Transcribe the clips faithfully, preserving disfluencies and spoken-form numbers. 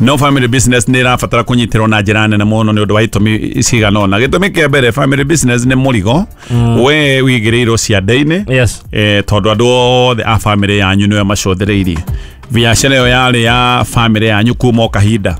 No family business nĩ ĩrabatara kũnyitĩrwo na njĩra nene mũno nĩ ũndũ wa itũmi cigana ũna. Gĩtũmi kĩa mbere, family business nĩ mũrigo we wigĩrĩirwo ciande-inĩ. Yes. Eh, tondũ andũ othe a family yanyu nĩwe macũthĩrĩirie. Biacara ĩyo yarĩ ya family yanyu kuma o kahinda.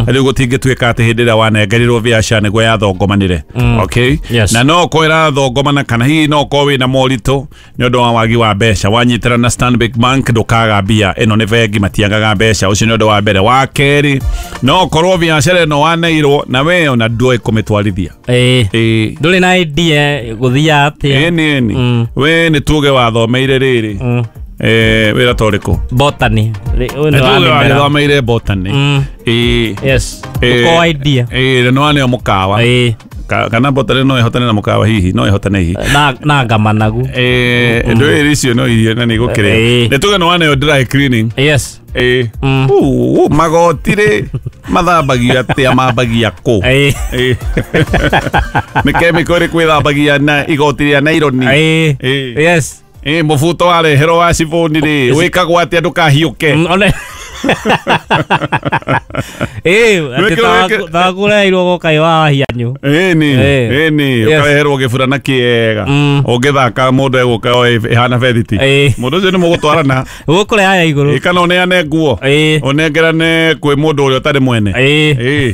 Rĩu gũtingĩtuĩka atĩ hĩndĩ ĩrĩa wanengerirwo biacara nĩguo yathongomanire. Okay? Yes. Na no ũkorwo ĩrathongomana kana hihi no ũkorwo wĩna moritũ nĩ ũndũ wa wagi wa mbeca. Wanyitĩra na Stanbic Bank ndũkaga mbia. Ĩno nĩ bengi, matiagaga mbeca. Ũcio nĩ ũndũ wa mbere. Wa kerĩ, no ũkorwo biacara ĩno waneirwo na we ona ndũĩ kũmĩtwarithia. Ĩĩ. Ĩĩ. Ndũrĩ na idea gũthiaga atĩa. Ĩni ĩni. Mm. We nĩ tuge wathomeire rĩrĩ. Mm. Eh, wĩra ta ũrĩkũ? Botany. Rĩ- ũyũ nĩ wa Nĩ tuge mĩmera. wathomeire botany. Mm. Ĩĩ. Yes. Ĩĩ. Ndũkorwo idea. Ĩĩ, nĩ waneo mũkawa. Ĩĩ. Ka- kana botany no ĩhotane na mũkawa hihi, no ĩhotane hihi. Na na ngamanagu. Eh, ndå icio no irio na nä gå kä Ĩĩ. rä nä tuge nä waneo dry cleaning. Yes. Ĩĩ. Mm. Uu, magoti rä mathambagio atä mambagia kå? Ĩĩ. Ĩĩ. Nä kemiko ä rä kwä thambagia na igoti rä a naironi? Ĩĩ. Ĩĩ. Yes. Ĩĩ, mũbuto wareherwo wa cibũni rĩ wĩkagwo atĩa ndũkahiũke? Mm, one. Ĩĩ, atĩ Wĩkĩrwo- wĩkĩ- tawakũreheirwo gũkaĩ wa wahianyu. Ĩni. Ĩĩ. Ĩni. Yes. Ũkareherwo gĩburana kĩega Mm. ũngĩthaka mũndũ egũka ĩhana bethiti. Ĩĩ. Mũndũ ũcio nĩ mũgũtwarana. Gũkũreha ya igũrũ. Ĩ, kana ũneane nguo, Ĩĩ. ũnengerane kwĩ mũndũ ũrĩa ũtarĩ mwene. Ĩĩ. Ĩĩ,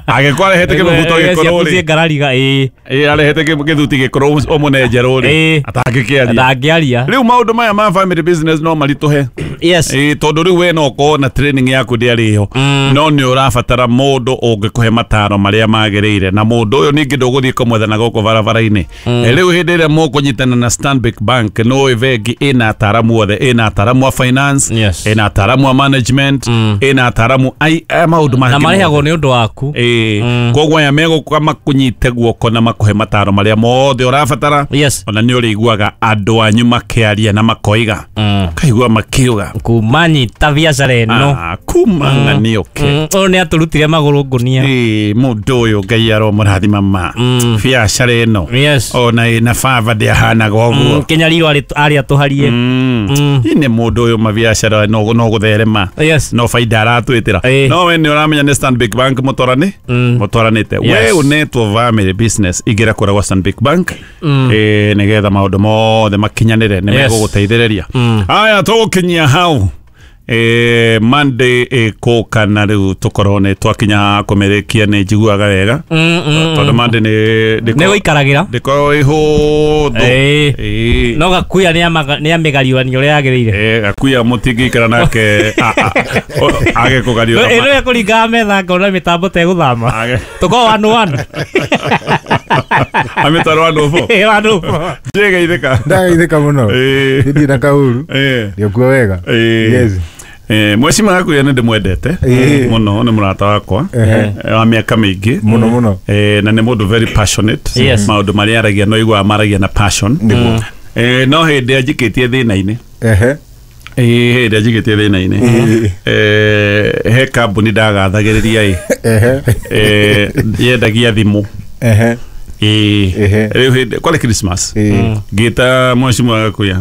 angĩkorwo arehete kĩmũbuto gĩkũrũ Ciaku rĩ, ciĩngarariga. Ĩĩ. ĩĩ, arehete kĩ- gĩthuti gĩkũrũ ũmũne njerũ rĩ, Ĩĩ. atangĩkĩaria. Ndangĩaria. Rĩu maũndũ maya ma family business no maritũhe. Yes. Ĩĩ, tondũ rĩu we no ũkorwo na training yaku ndĩarĩ ho, Mm. no nĩ ũrabatara mũndũ ũngĩkũhe mataro marĩa magĩrĩire, na mũndũ ũyũ ningĩ ndũgũthiĩ kũmwetha na gũkũ barabara-inĩ. Eh, rĩu hĩndĩ ĩrĩa mũkũnyitana na Stanbic Bank, nĩ bengi ĩna ataramu othe, ĩna ataramu a finance, Yes. ĩna ataramu a management, Mm. ĩna ataramu ai a maũndũ Na mangĩ marĩhagwo mothe. nĩ ũndũ waku. Ĩĩ. Mm. Koguo aya megũka makũnyite guoko na makũhe mataro marĩa mothe ũrabatara. Yes. Ona nĩ ũrĩiguaga andũ anyu makĩaria na makoiga, Mm. kaigua makiuga Kuma nyita biacara ĩno. Ah, kuma ng'anioke. Mm, ũyũ nĩ atũrutire magũrũ ngũnia. Ĩĩ, mũndũ ũyũ Ngai aromũrathima ma Mm. biacara ĩno Yes. ona ĩna baba ndĩahanaga ũguo. Mm, Kĩnyariro arĩ arĩ atũharie. Mm. Mm. Ĩ, nĩ mũndũ ũyũ mabiacara no no gũtherema, Yes. no baida aratwĩtĩra. Ĩĩ. No we nĩ ũramenya nĩ Stanbic Bank mũtwarani Mm. mũtwaranĩte. Yes. We ũnetwo family business, ingĩra kũrĩa gwa Stanbic Bank. Mm. Ĩĩ, nĩgetha maũndũ mothe makinyanĩre nĩ Yes. megũgũteithĩrĩria. Mm. Aya, tũgũkinyia hau. Eh, Monday ĩkũka na rĩu tũkorwo nĩ twakinya kũmĩrĩkia. Nĩ njiguaga wega Mm, mm, tondũ mm. Monday nĩ Nĩ gũikaragĩra. ndĩkorwo ĩhũthũ. Ĩĩ. Ĩĩ. No gakuya nĩ amĩgariũranio ũrĩa yagĩrĩire. Eh, gakuya mũtingĩikara nake a- a- o- age kũgariũra. Ĩno ĩkũringaga metha ngona mĩtambo tegũthama. Age Tũkorwo one one. amĩtwaro andũ bo. One one. Njĩgeithĩka. Ndagaithĩka mũno. Ĩĩ. Ndĩ na kauru. Ĩĩ. Ndĩokuo wega. Ĩĩ. Yes. Eh, mwecima gakuya nĩ ndĩmwendete Ĩĩ. mũno, nĩ mũrata wakwa Ehe. eh, wa mĩaka mĩingĩ. Mũno mũno. Eh, na nĩ mũndũ very passionate. Yes. Maũndũ marĩa aragia no iguaga maragia na passion. Nĩguo. Eh, no hĩndĩ anjikĩtie thĩna-inĩ. Ehe. Ĩĩ, hĩndĩ anjikĩtie thĩna-inĩ. Ĩĩ. Eh, he kambuni ndagathagĩrĩria ĩ Ehe. Eh, yendagia thimũ. Ehe. Ĩĩ. Ehe. Rĩu hĩndĩ kwarĩ Christmas, Ĩĩ. ngĩta mwecimwa gakuya.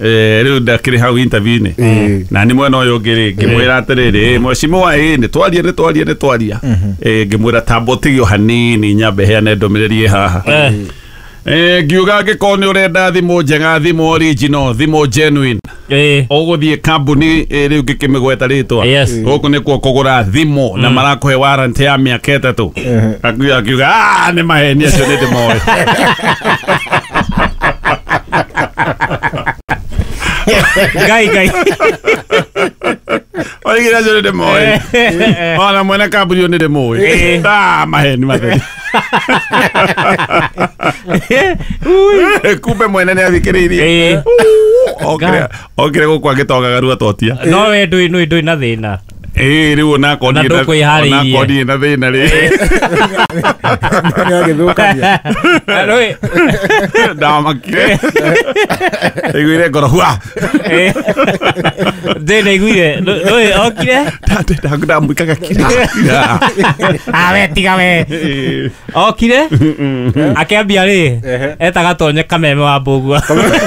Eh, rĩu ndakĩrĩ hau interview-inĩ Ĩĩ. na nĩ mwena ũyũ ũngĩ rĩ, ngĩmwĩra atĩrĩrĩ, "Ĩ, mwecimwa, ĩ nĩ twaria nĩ twaria nĩ twaria." Ĩ, ngĩmwĩra tamba ũtigio hanini nyambe heane ndũmĩrĩri ĩ haha. Eh. Eh, ngiuga angĩkorwo nĩ ũrenda thimũ njega, thimũ original, thimũ genuine, Ĩĩ. ũgũthiĩ kambuni ĩ, rĩu ngĩkĩmĩgweta rĩtwa. Yes. Gũkũ nĩkuo kũgũra thimũ na marakũhe warranty ya mĩaka ĩtatũ. Ehe. Akiuga akiuga "Ah, nĩ maheni acio, nĩ ndĩmoĩ." Ngai Ngai. Oigire acio nĩ ndĩmoĩ, ona mwene kambuni ũyũ nĩ ndĩmũĩ. Ĩĩ. Ah, maheni matheri. Kumbe mwene nĩ athikĩrĩirie. Ĩĩ. Okire okire gũkũ agĩtongaga rua totia. No we ndũĩ ndũĩ ndũĩ na thĩna. Ĩĩ, rĩu onakorwo Na ndirĩ na- ndũkwĩharĩirie. onakorwo ndirĩ na thĩna rĩ, Nĩ agĩthũkania. Ndũĩ. Ndamakire, iguire ngoro hua. Ndĩ ndaiguire ndũĩ okire. Ndamwikaga kira. Ah, we tiga we. Okire akĩambia rĩ Ehe. etaga Tonye Kameme wa Mbũgua. Kameme.